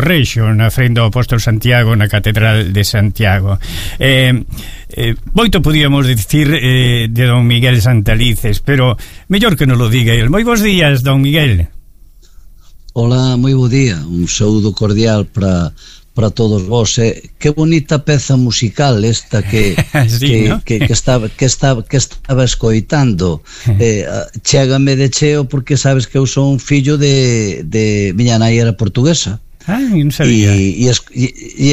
Rexo, na frente ao Apóstolo Santiago, na Catedral de Santiago. Moito podíamos dicir de don Miguel Santalices, pero mellor que non lo diga el. Moi bons días, don Miguel. Hola, moi bo día. Un saúdo cordial para todos vos. Que bonita peza musical esta que sí, ¿no? que estaba escoitando. Chégame de cheo porque sabes que eu son fillo de miña nai era portuguesa. Non sabía. E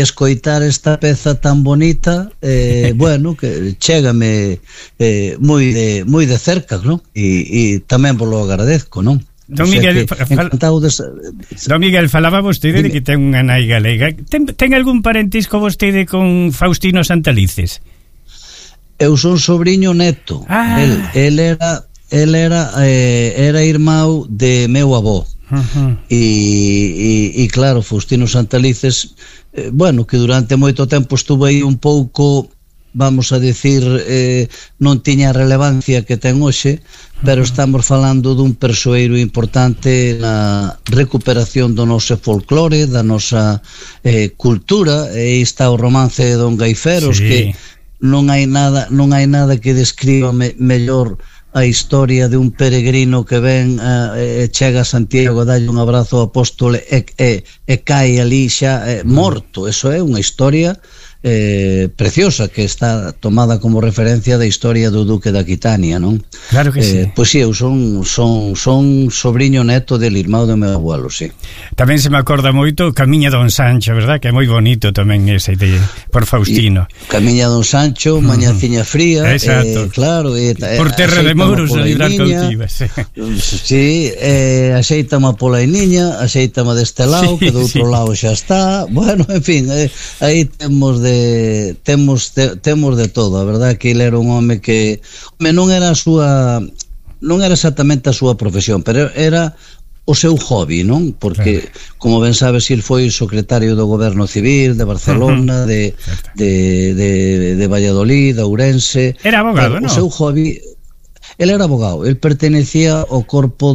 escoitar esta peza tan bonita, bueno, que chégame moi de cerca, non? E tamén vos lo agradezco, non? Don Miguel, Don Miguel, falaba vostede de que ten unha nai galega. Ten algún parentesco vostede con Faustino Santalices? Eu son sobriño neto. El era irmão de meu avó. E claro, Faustino Santalices, bueno, que durante moito tempo estuve aí un pouco, vamos a decir, non tiña a relevancia que ten hoxe, pero estamos falando dun persoeiro importante na recuperación do noso folclore, da nosa cultura. E está o romance de Don Gaiferos, sí, que non hai nada que describa mellor a historia de un peregrino que ven chega a Santiago, dalle un abrazo ao apóstolo e cae ali xa morto. Eso é unha historia preciosa que está tomada como referencia da historia do Duque de Aquitania, non? Claro que sí. Pois si, eu son sobriño neto del irmão do meu abuelo, sí. Tamén se me acorda moito Camiña Don Sancho, verdad? Que é moi bonito tamén ese por Faustino. Camiña Don Sancho, Mañaciña Fría, claro, por terra de mouros a librar cautivas. Sí, axeitama pola iniña, axeitama deste lado, que do outro lado xa está. Bueno, en fin, aí temos de todo. A verdade que ele era un home que non era exactamente a súa profesión, pero era o seu hobby, non? Porque, como ben sabes, ele foi secretario do Goberno Civil de Barcelona, de Valladolid, de Ourense. Era abogado, non? O seu hobby... Ele era abogado, ele pertenecía ao corpo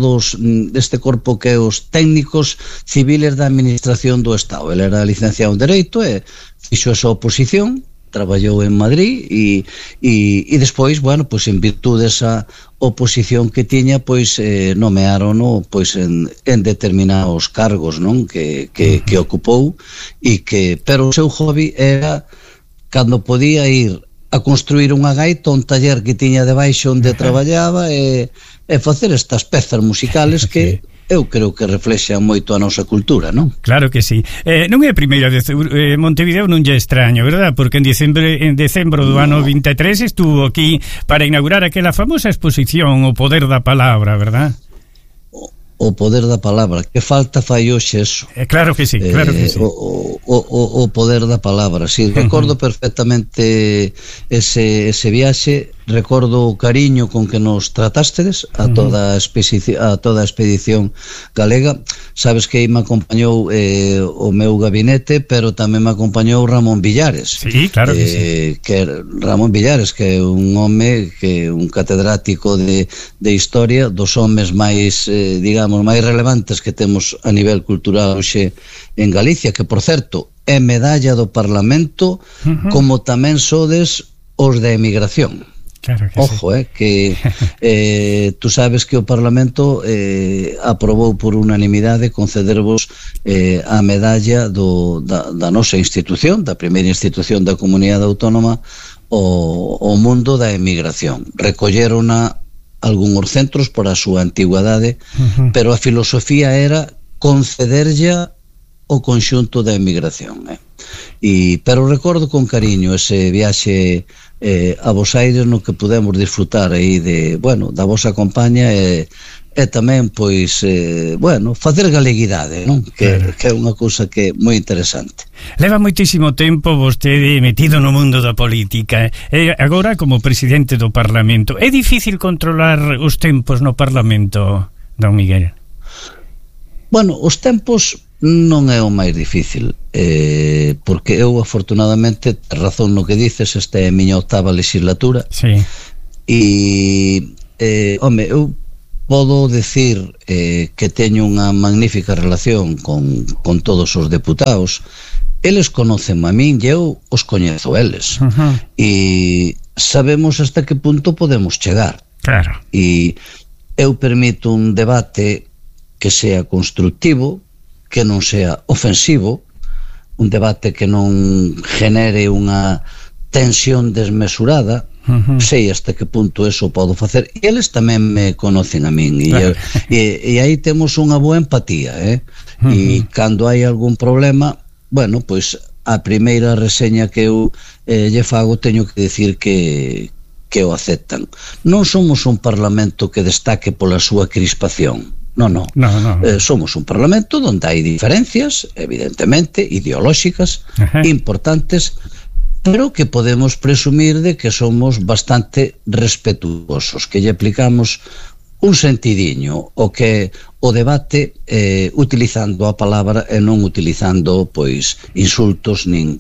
deste corpo que é os técnicos civiles da administración do Estado. Ele era licenciado en Dereito e fixo esa oposición, traballou en Madrid e despois, bueno, pois en virtude desa oposición que tiña, pois nomearono pois en determinados cargos, non? Que ocupou, pero o seu hobby era cando podía ir a construir unha gaita, un taller que tiña debaixo onde traballaba e facer estas pezas musicales que eu creo que reflexan moito a nosa cultura, non? Claro que sí. Non é a primeira vez, Montevideo non lle é extraño, verdad? Porque en decembro do ano 23 estuvo aquí para inaugurar aquela famosa exposición O Poder da Palabra, verdad? O poder da palabra, que falta fai hoxe eso. Claro que sí, claro que sí. O poder da palabra, sí, recordo perfectamente ese viaxe, recordo o cariño con que nos tratastedes a toda a expedición galega. Sabes que aí me acompañou o meu gabinete, pero tamén me acompañou Ramón Villares. Sí, claro que sí. Ramón Villares, que é un home, que é un catedrático de historia, dos homes máis, digamos, máis relevantes que temos a nivel cultural hoxe en Galicia, que, por certo, é medalla do Parlamento, como tamén sodes os da emigración. Claro que ojo, que tú sabes que o Parlamento aprobou por unanimidade concedervos a medalla da nosa institución, da primeira institución da comunidade autónoma o mundo da emigración. Recollerona algúns centros por a súa antigüedade, pero a filosofía era concederlla o conxunto da emigración, pero recordo con cariño ese viaxe a Bos Aires, no que pudemos disfrutar aí da vosa compañía e tamén, pois, facer galeguidade, non? Que é unha cousa que é moi interesante. Leva moitísimo tempo vostede metido no mundo da política, agora como presidente do Parlamento. É difícil controlar os tempos no Parlamento, don Miguel? Bueno, os tempos non é o máis difícil, porque eu, afortunadamente, razón no que dices, esta é a miña 8ª legislatura. Sí. E, home, eu podo decir que teño unha magnífica relación con todos os deputados. Eles conocen a min e eu os coñezo eles. E sabemos hasta que punto podemos chegar. Claro. E eu permito un debate que sea constructivo, que non sea ofensivo, un debate que non genere unha tensión desmesurada. Sei hasta que punto eso podo facer, e eles tamén me conocen a min, e aí temos unha boa empatía, e cando hai algún problema, bueno, pois a primeira reseña que eu lle fago teño que decir que o aceptan. Non somos un parlamento que destaque pola súa crispación. No. Somos un parlamento onde hai diferencias, evidentemente, ideolóxicas, importantes, pero que podemos presumir de que somos bastante respetuosos, que lle aplicamos un sentidiño o que o debate utilizando a palabra e non utilizando pois insultos nin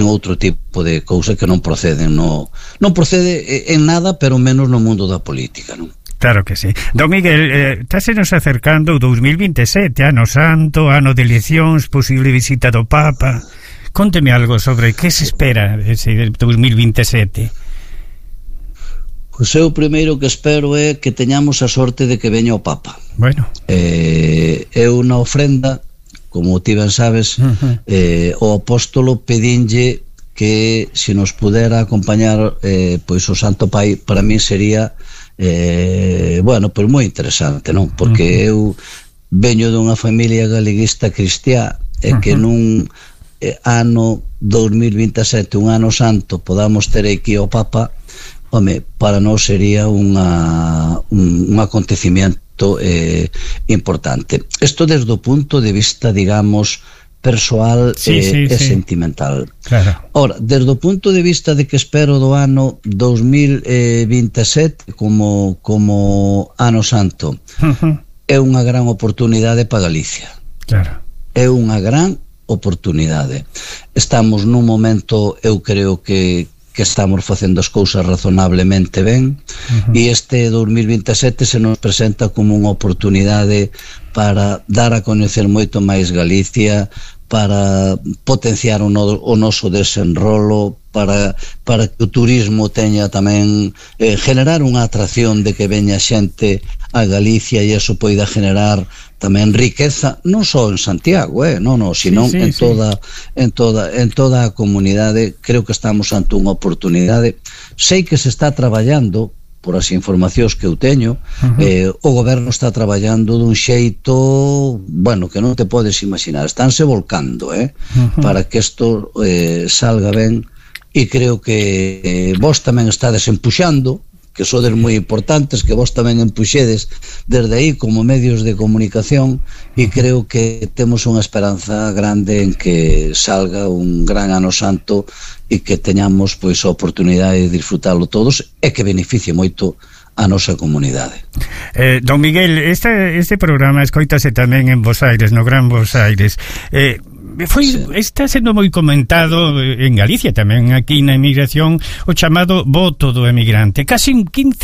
outro tipo de cousa que non proceden, non procede en nada, pero menos no mundo da política, non? Claro que sí. Don Miguel, tásenos acercando o 2027, ano santo, ano de eleccións, posible visita do Papa. Cónteme algo sobre que se espera ese 2027. Pois eu primeiro que espero é que teñamos a sorte de que veña o Papa. Bueno. Eu na ofrenda, como ti ben sabes, o apóstolo pedinlle que se nos pudera acompañar pois o Santo Pai, para mí sería bueno, pois moi interesante, non? Porque eu veño dunha familia galeguista cristiá e que nun ano 2027, un ano santo, podamos ter aquí o Papa, home, para nós sería un acontecimiento importante. Isto desde o punto de vista, digamos, persoal e sentimental. Claro. Ora, desde o punto de vista de que espero do ano 2027 como ano santo, é unha gran oportunidade para Galicia. Claro. É unha gran oportunidade. Estamos nun momento, eu creo que estamos facendo as cousas razonablemente ben, e este 2027 se nos presenta como unha oportunidade para dar a coñecer moito máis Galicia, para potenciar o noso desenrolo, para que o turismo teña tamén generar unha atracción de que veña xente a Galicia, e eso poida generar tamén riqueza, non só en Santiago, sino en toda a comunidade. Creo que estamos ante unha oportunidade. Sei que se está traballando, por as informacións que eu teño, o goberno está traballando dun xeito, bueno, que non te podes imaginar. Estánse volcando, para que isto salga ben, e creo que vos tamén estades empuxando, que sodes moi importantes, que vos tamén empuxedes desde aí como medios de comunicación, e creo que temos unha esperanza grande en que salga un gran ano santo e que teñamos pois a oportunidade de disfrutalo todos e que beneficie moito a nosa comunidade. Don Miguel, este programa escoítase tamén en Bos Aires, no Gran Bos Aires. Está sendo moi comentado en Galicia tamén, aquí na emigración, o chamado voto do emigrante. Casi un quinto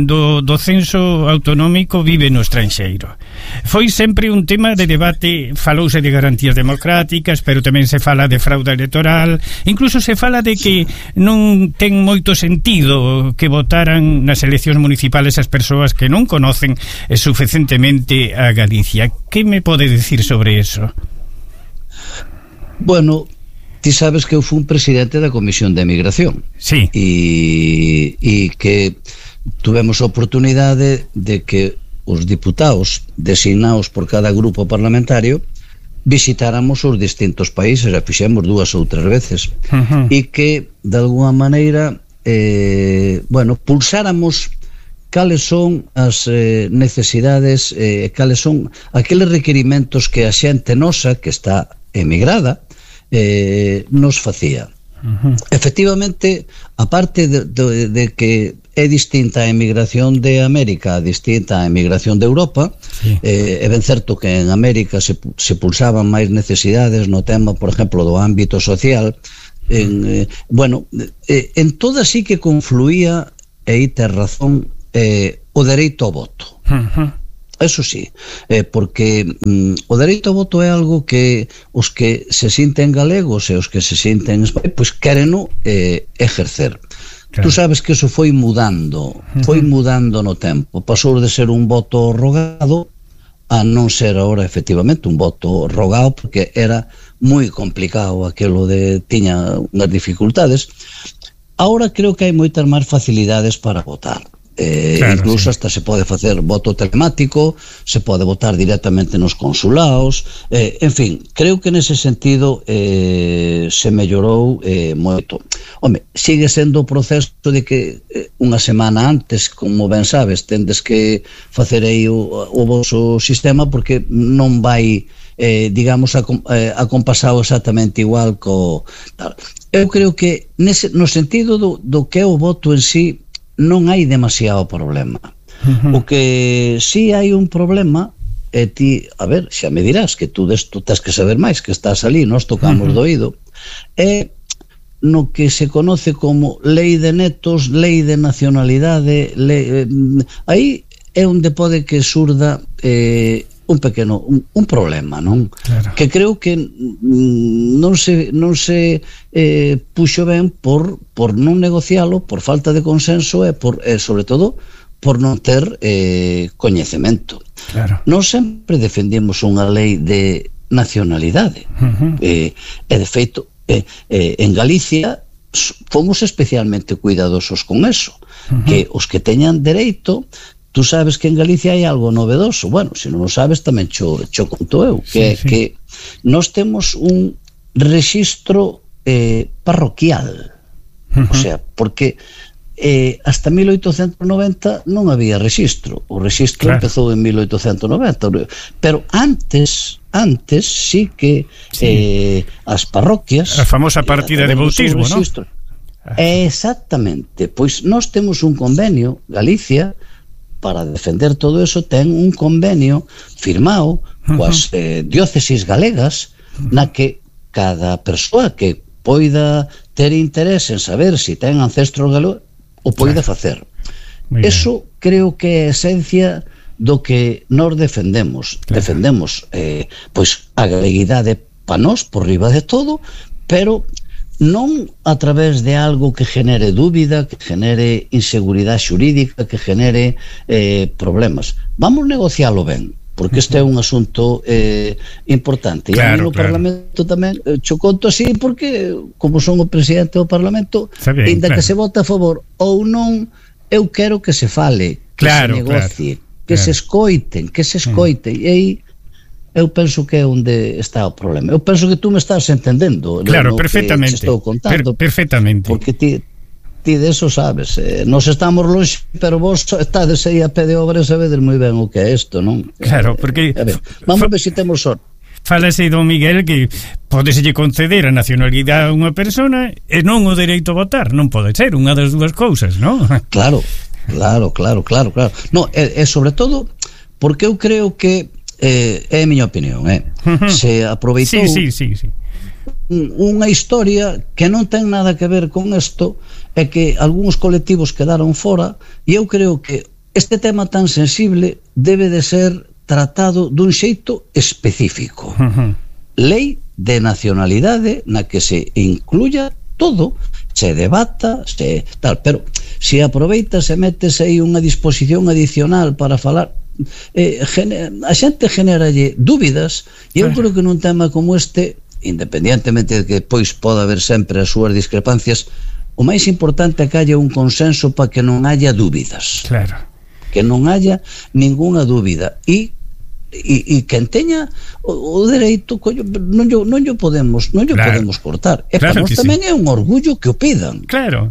do censo autonómico vive no estranxeiro. Foi sempre un tema de debate, falouse de garantías democráticas, pero tamén se fala de fraude electoral, incluso se fala de que non ten moito sentido que votaran nas eleccións municipales as persoas que non conocen suficientemente a Galicia. Que me pode decir sobre eso? Bueno, ti sabes que eu fui un presidente da Comisión de Emigración. Sí. E que tuvemos a oportunidade de que os diputados designados por cada grupo parlamentario visitáramos os distintos países, e fixemos 2 ou 3 veces, e que de alguna maneira pulsáramos cales son as necesidades, cales son aqueles requerimentos que a xente nosa que está emigrada nos facía. Efectivamente, aparte de que é distinta a emigración de América a distinta a emigración de Europa, é ben certo que en América se pulsaban máis necesidades no tema, por exemplo, do ámbito social, en toda sí que confluía e aí tes razón, o dereito ao voto. Eso sí, porque o dereito ao voto é algo que os que se sinten galegos e os que se sinten pois quéreno exercer. Claro. Tú sabes que eso foi mudando no tempo, pasou de ser un voto rogado a non ser ahora efectivamente un voto rogado, porque era moi complicado aquilo de tiña unhas dificultades. Ahora creo que hai moitas máis facilidades para votar. Claro, incluso hasta se pode facer voto telemático, se pode votar directamente nos consulados, en fin, creo que nese sentido se mellorou moito. Home, sigue sendo o proceso de que unha semana antes, como ben sabes, tendes que facer aí o voso sistema, porque non vai digamos acompasado exactamente igual co tal. Eu creo que no sentido do que é o voto en sí non hai demasiado problema. O que si hai un problema é ti, a ver, xa me dirás que tú desto tens que saber máis, que estás ali, nos tocamos do oído, é no que se conoce como lei de netos, lei de nacionalidade, aí é onde pode que surda un pequeno, un problema, non? Claro. Que creo que non se puxo ben por non negocialo, por falta de consenso e sobre todo por non ter coñecemento. Claro. Non sempre defendemos unha lei de nacionalidade, e de feito en Galicia fomos especialmente cuidadosos con eso, que os que teñan dereito. Tú sabes que en Galicia hai algo novedoso. Bueno, se non o sabes tamén cho conto eu, que que nós temos un rexistro parroquial. O sea, porque hasta 1890 non había rexistro. O rexistro empezou en 1890, pero antes sí que as parroquias, a famosa partida de bautismo, non? Exactamente. Pois nós temos un convenio, Galicia, para defender todo eso, ten un convenio firmado coas diócesis galegas, na que cada persoa que poida ter interés en saber se ten ancestros galegos o poida facer. Eso creo que é a esencia do que nós defendemos. Defendemos pois a galeguidade pa nós por riba de todo, pero non a través de algo que genere dúbida, que genere inseguridade xurídica, que genere problemas. Vamos negocialo ben, porque este é un asunto importante. E a mí no Parlamento tamén cho conto así, porque como son o presidente do Parlamento, ainda que se vote a favor ou non, eu quero que se fale, que se negocie, que se escoiten, e aí eu penso que é onde está o problema. Eu penso que tú me estás entendendo. Claro, perfectamente. Estou contando, perfectamente. Porque ti de eso sabes. Nos estamos longe, pero vos estades aí a pé de obra e sabedes moi ben o que é isto, non? Claro, porque vamos ver se temos sorte. Fálase, don Miguel, que podeselle conceder a nacionalidade a unha persona e non o dereito a votar. Non pode ser unha das dúas cousas, non? Claro. No, e sobre todo porque eu creo que é a miña opinión, se aproveitou unha historia que non ten nada que ver con isto, é que algúns colectivos quedaron fora, e eu creo que este tema tan sensible debe de ser tratado dun xeito específico. Lei de nacionalidade na que se incluya todo, se debata, se tal, pero se aproveita, se metes aí unha disposición adicional para falar, a xente generalle dúbidas, e eu creo que nun tema como este, independientemente de que pois poda haber sempre as súas discrepancias, o máis importante é que haya un consenso para que non haya dúbidas, que non haya ninguna dúbida, e quen teña o dereito, non lle podemos cortar, e para nós tamén é un orgullo que o pidan. Claro.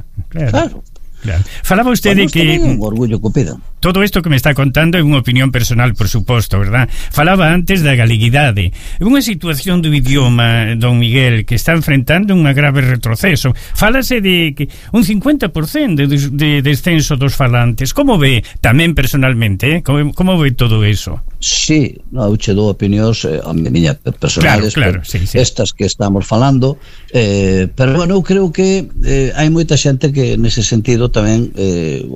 Falaba usted de que un orgullo que pidan. Todo isto que me está contando é unha opinión personal, por suposto, verdad? Falaba antes da galeguidade. É unha situación do idioma, don Miguel, que está enfrentando un grave retroceso. Fálase de que un 50% de descenso dos falantes. Como ve, tamén personalmente, como ve todo eso? Sí, eu che dou opinións a miña personales, estas que estamos falando, pero bueno, eu creo que hai moita xente que nese sentido tamén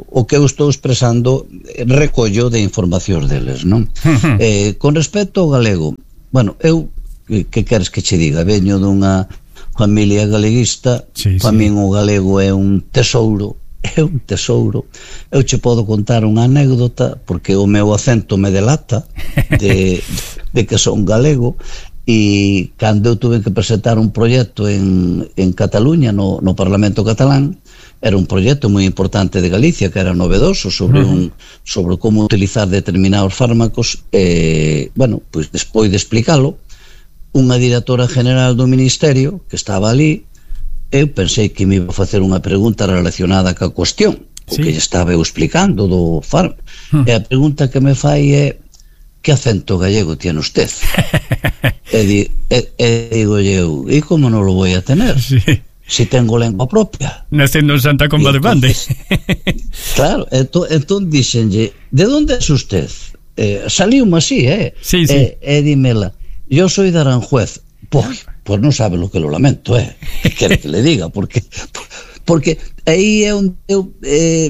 o que eu estou expresando recollo de informacións deles, non? Con respecto ao galego, bueno, eu que queres que che diga, veño dunha familia galeguista, para min o galego é un tesouro. Eu che podo contar unha anécdota porque o meu acento me delata de que son galego. E cando eu tuve que presentar un proxecto en Cataluña, no Parlamento catalán, era un proxecto moi importante de Galicia, que era novedoso sobre como utilizar determinados fármacos. Bueno, pois despois de explicalo, unha directora general do Ministerio que estaba ali, eu pensei que me iba a facer unha pregunta relacionada ca cuestión, o que lle estaba eu explicando do fármaco, e a pregunta que me fai é: que acento gallego tiene usted? E digo eu, e como non lo voy a tener? Si tengo lengua propia. Nacendo en Santa Comba de Bande. Claro, entón dixenlle, de onde es usted? Saliume así, e dímela, yo soy de Aranjuez. Pues non sabe lo que lo lamento, que quere que le diga, porque aí é onde eu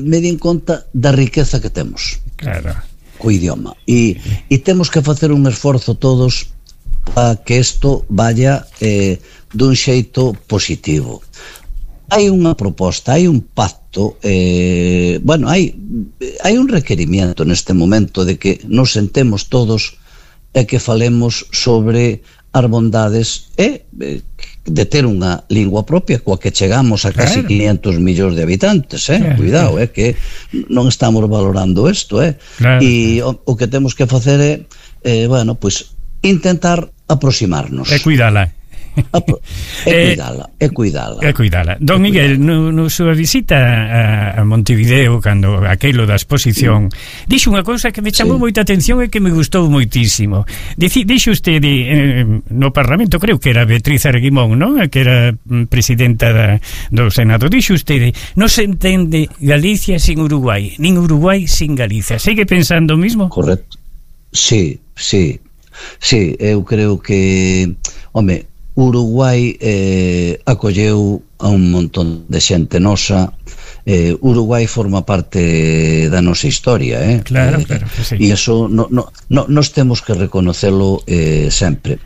me din conta da riqueza que temos. Claro. Co idioma, e temos que facer un esforzo todos para que isto vaya dun xeito positivo. Hai unha proposta, hai un pacto, bueno, hai un requerimiento neste momento de que nos sentemos todos e que falemos sobre as bondades de ter unha lingua propia coa que chegamos a casi 500 millóns de habitantes, cuidado, que non estamos valorando isto, e o que temos que facer é, bueno, pois intentar aproximarnos e cuidala. É cuidala. Don Miguel, no súa visita a Montevideo, cando aquilo da exposición, dixo unha cousa que me chamou moita atención e que me gustou moitísimo. Dixo usted no Parlamento, creo que era Beatriz Arguimón, non? Que era presidenta do Senado. Dixo usted, non se entende Galicia sin Uruguai, nin Uruguai sin Galicia. Segue pensando o mismo? Correcto. Sí, eu creo que, home, Uruguai acolleu a un montón de xente nosa. Uruguai forma parte da nosa historia, Claro que sí. E iso nos temos que reconocelo sempre.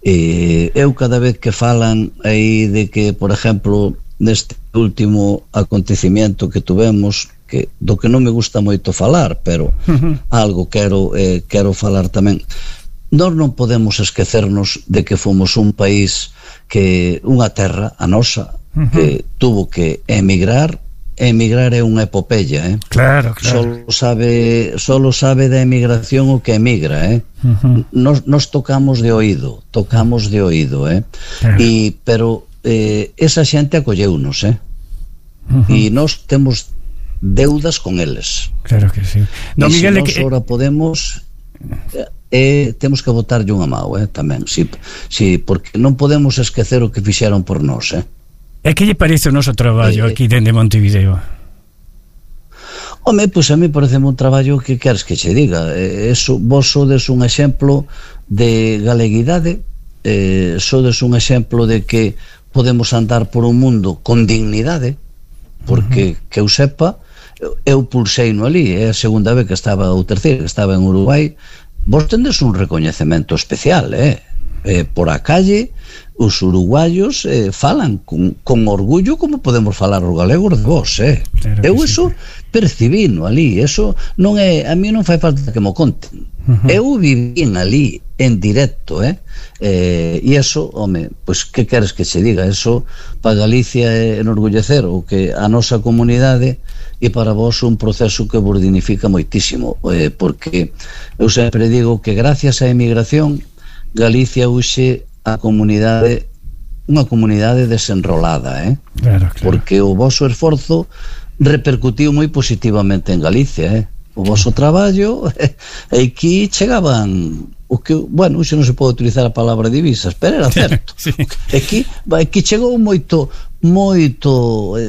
Eu cada vez que falan aí de que, por exemplo, neste último acontecimiento que tuvemos, do que non me gusta moito falar, pero algo quero falar tamén. Nós non podemos esquecernos de que fomos un país unha terra, a nosa, que tuvo que emigrar. Emigrar é unha epopeya, Claro. Solo sabe da emigración o que emigra, Nos tocamos de oído, pero esa xente acolleunos, e nos temos deudas con eles. Claro que sí. E se nos ora podemos... temos que botarlle unha mão tamén, porque non podemos esquecer o que fixeron por nós. E que lle parece o noso traballo aquí dende Montevideo? Home, pois a mí parece un traballo que queres que che diga. Vos sodes un exemplo de galeguidade, sodes un exemplo de que podemos andar por un mundo con dignidade, porque que eu sepa, eu pulsei no ali, é a segunda vez que estaba, ou terceira, que estaba en Uruguai. Vos tendes un recoñecemento especial, por a calle os uruguayos falan con orgullo como podemos falar os galegos de vos, Claro, eu iso percibino ali, eso non é, a mí non fai falta que mo conten, eu vivín ali en directo, e eso, home, pois que queres que se diga, eso para Galicia é enorgullecer o que a nosa comunidade, e para vos un proceso que vos dignifica moitísimo, porque eu sempre digo que gracias á emigración Galicia hoxe a comunidade, unha comunidade desenrolada, Claro. Porque o voso esforzo repercutiu moi positivamente en Galicia, o voso traballo, e aquí chegaban o que, bueno, xe non se pode utilizar a palabra divisas, pero era certo. Sí. Aquí chegou moito,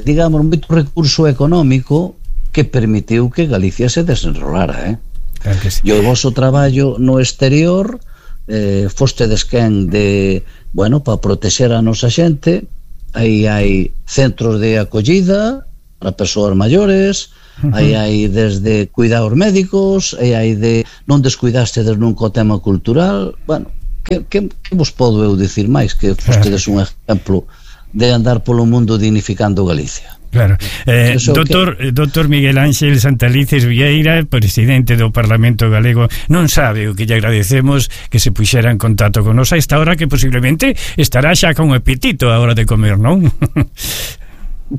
digamos, moito recurso económico que permitiu que Galicia se desenrolara, Claro que sí. E o voso traballo no exterior, fostedes quen de, bueno, para protexer a nosa xente. Aí hai centros de acollida, para persoas maiores, aí hai desde cuidados médicos, aí hai de non descuidaste nunca o tema cultural. Bueno, que vos podo eu dicir máis que fostedes un exemplo de andar polo mundo dignificando Galicia? Claro. Doctor Miguel Ángel Santalices Vieira, presidente do Parlamento Galego, non sabe o que lle agradecemos que se puxera en contacto con nos a esta hora, que posiblemente estará xa con apetito a hora de comer, non?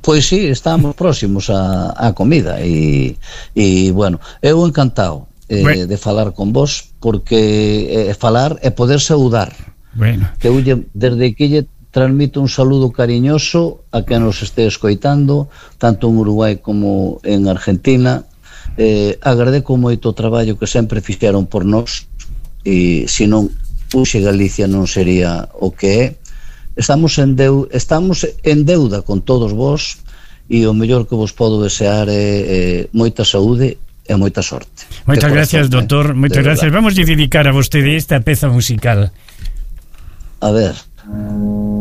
Pois sí, estamos próximos a comida e bueno, eu encantado de falar con vos, porque falar é poder saudar. Bueno. Que eu desde que lle transmito un saludo cariñoso a quen nos este escoitando, tanto en Uruguai como en Argentina. Agradeco moito o traballo que sempre fixeron por nós, e se non puxe Galicia non sería o que é. Estamos en deuda con todos vos, e o mellor que vos podo desear é moita saúde e moita sorte. Moitas gracias, doctor, moitas gracias. Vamos a dedicar a vostede esta peza musical. A ver.